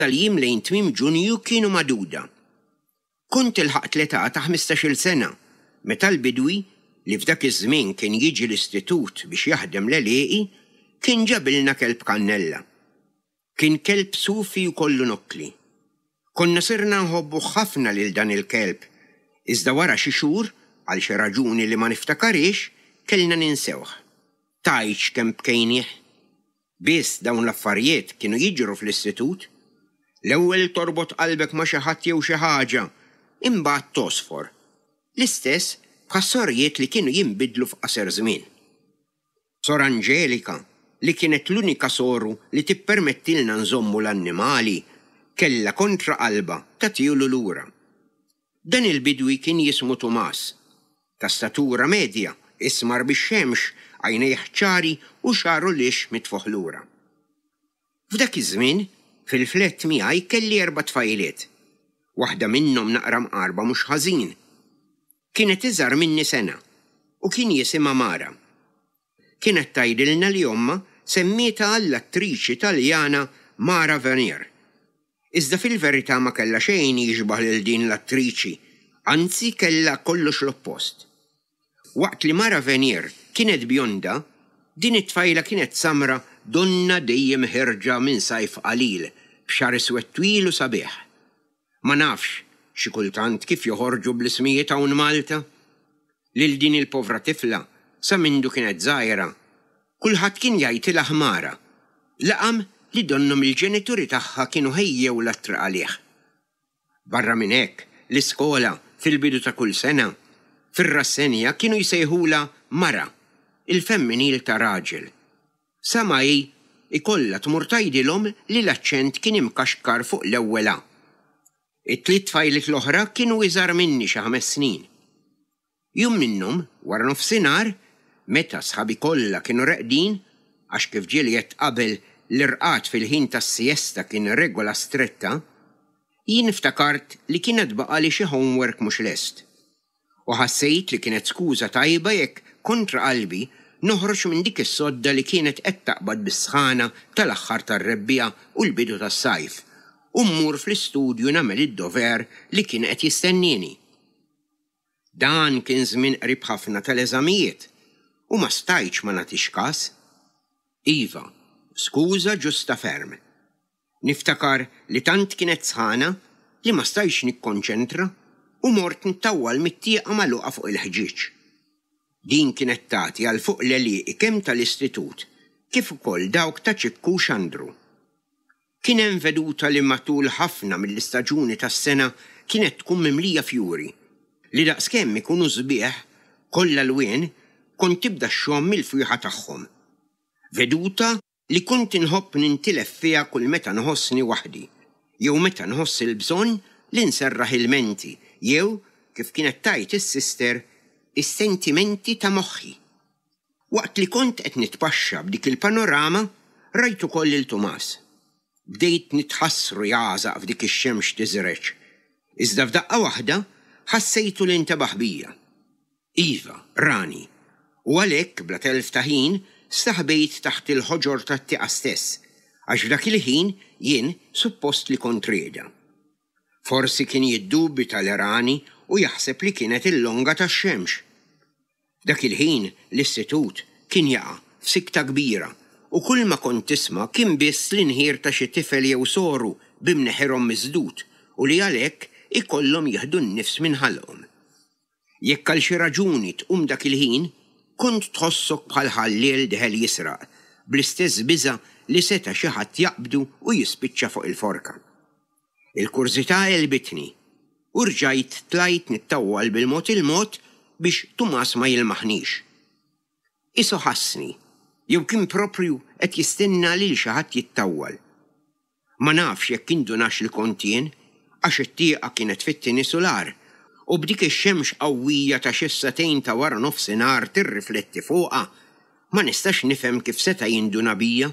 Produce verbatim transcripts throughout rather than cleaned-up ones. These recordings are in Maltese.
Tal-jiem lejn tmiem Ġunju kienu magħduda. Kont ilħaqt l-età ta' ħmistax-il sena meta l-bidwi, li f'dak iż-żmien kien jiġi l-istitut biex jaħdem l-għelieqi, kien ġabilna kelb kannella. Kien kelb sufi u kollu nokkli. Konna sirna nħobbuh ħafna lil dan il-kelb, iżda wara xi xhur, għal xi raġuni li ma niftakarhiex, kellna ninsewh. Tgħidx kemm bkejnieh! Biss dawn l-affarijiet kienu jiġru fl-istitut. L-ewwel torbot qalbek ma' xi ħadd jew xi ħaġa, imbagħad togħsfor. L-istess bħas-sorijiet li kienu jinbidlu f'qasir żmien. Sor Anġelika, li kienet l-unika soru li tippermettilna nżommu l-annimali, kellha kontra qalbha tagħtihulu lura. Dan il-bidwi kien jismu Tumas. Ta' statura medja, ismar bix-xemx, għajnejh ċari u xagħru lixx mitfugħ lura. F'dak iż-żmien, fil-flett miegħi kelli erba' tfajliet. Waħda minnhom naqra mqarba mhux ħażin. Kienet iżgħar minni sena u kien jisimha Mara. Kienet tgħidilna li ommha semmietha għall-attriċi Taljana Mara Venier. Iżda fil-verità ma kellha xejn jixbah lil din l-attriċi, anzi kellha kollox l-oppost. Waqt li Mara Venier kienet bjonda, din it-tfajla kienet samra donnha dejjem ħierġa minn sajf qalil, b'xagħar iswed twil u sabiħ. Ma nafx xi kultant kif joħorġu bl-ismijiet hawn Malta. Lil din il-povra tifla, sa mindu kienet żgħira, kulħadd kien jgħidilha ħmara, laqam li donnhom il-ġenituri tagħha kienu ħejjewlha t-triq għalih. Barra minn hekk, l-iskola, fil-bidu ta' kull sena, fir-rassenja kienu jsejħulha mara, il-femminil ta' raġel. Sa ma hi ikollha tmur tgħidilhom li l-aċċent kien imkaxkar fuq l-ewwel a. It-tliet tfajliet l-oħra kienu iżgħar minni xi ħames snin. Jum minnhom, wara nofsinhar, meta sħabi kollha kienu reqdin, għax kif ġieli għedt qabel l-irqad fil-ħin tas-siesta kien regola stretta, jien ftakart li kienet baqali xi homework mhux lest. U ħassejt li kienet skuża tajba jekk kontra qalbi noħroġ minn dik is-sodda li kienet qed taqbad bis-sħana tal-aħħar tar-rebbiegħa u l-bidu tas-sajf, u mmur fl-istudju nagħmel id-dover li kien qed jistennieni. Dan kien żmien qrib ħafna tal-eżamijiet u ma stajtx ma nagħtix każ. Iva, skuża ġusta ferm. Niftakar li tant kienet sħana li ma stajtx nikkonċentra u mort nittawwal mit-tieqa magħluqa fuq il-ħġieġ. Din kienet tagħti għal fuq l-għelieqi kemm tal-istitut kif ukoll dawk ta' Ċikku Xandru. Kien hemm veduta li matul ħafna mill-istaġuni tas-sena kienet tkun mimlija fjuri, li daqskemm ikunu sbieħ kollha lwien kont tibda xxomm il-fwieħa tagħhom. Veduta li kont inħobb nintilef fiha kull meta nħossni waħdi, jew meta nħoss il-bżonn li nserraħ il-menti, jew, kif kienet tgħid is-sister, is-sentimenti ta' moħħi. Waqt li kont qed nitpaxxa b'dik il-panorama, rajt ukoll lil Tumas. Bdejt nitħassru jagħżaq f'dik ix-xemx tiżreġ. Iżda f'daqqa waħda ħassejtu li ntebaħ bija. Iva, rani. U għalhekk bla telf ta' ħin staħbejt taħt il-ħoġor tat-tieqa stess, għax f'dak il-ħin jien suppost li kont rieda. Forsi kien jiddubita li rani u jaħseb li kienet il-longa tax-xemx. F'dak il-ħin l-istitut kien jaqa' f'sikta kbira u kull ma kont tisma' kien biss l-inħir ta' xi tifel jew soru b'imneħirhom miżdud u li għalhekk ikollhom jieħdu n-nifs minn ħalqhom. Jekk għal xi raġuni tqum dak il-ħin, kont tħossok bħal ħalliel deħel jisraq, bl-istess biża' li seta' xi ħadd jaqbdu u jispiċċa fuq il-forka. Il-kurżità għelbitni u rġajt tlajt nittawwal bil-mod il-mod biex Tumas ma jilmaħnix. Isu ħassni, jew kien proprju qed jistenna lil xi ħadd jittawwal. Ma nafx jekk indunax li kont jien, għax it-tieqa kienet fit-tieni sular, u b'dik ix-xemx qawwija ta' xi sagħtejn ta' wara nofsinhar tirrifletti fuqha, ma nistax nifhem kif seta' jinduna bija.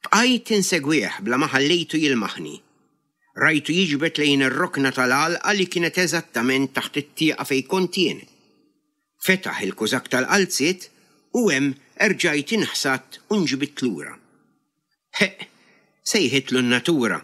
Bqajt insegwih bla ma ħallejtu jilmaħni. Rajtu jiġbed lejn ir-rokna tal-għalqa li kienet eżattament taħt it-tieqa fejn kont jien. Fetaħ il-kużakk tal-qalziet u hemm erġajt inħsadt u nġbidt lura. Ħeqq, sejħitlu n-natura.